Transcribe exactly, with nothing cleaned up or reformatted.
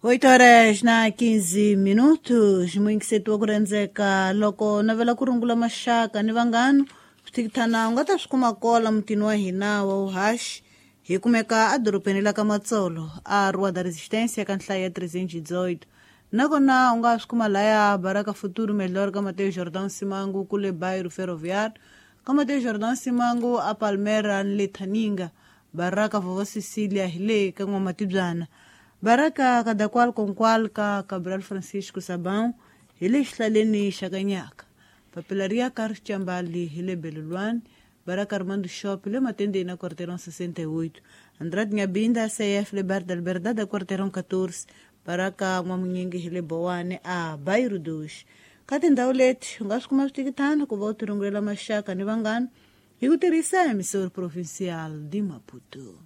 Oito horas na quinze minutos, muyingiseti wa ku rhendzeka loko navela ku rungula maxaka ni vanghana swithikithana u nga ta swi kuma kola mutini wa hina wa vuhaxi. Hi kumeka edorobeni la ka Matsolo a Rua da Resistência ka nhlayo ya trezentos e dezoito. Nakona u nga swi kuma laya Baraka Futuro Melhor ka Mateus Jordão Simango kule bairro Ferroviário ka Mateus Jordão Simango a Palmeiras ni le Thaninga Baraka Vovó Cecília hi le ka N'wamatibyana Baraka Kadakwal Konkwal ka Cabral Francisco Sabão hi le xihlaleni xa Kanyaka Papelaria Carlos Chambali hi le Belulwani Baraka Armando Shop le Matendeni na quarteirão sessenta e oito Andrade Nhabinda C F le Bar da Liberdade quarteirão catorze Baraka N'wamunyingi hi le Bowane a Bairro dos. Ka tindhawu leti u nga swi kuma switikitana ku va u tirungulela maxaka ni vanghana hi ku tirhisa emissora provincial de Maputo.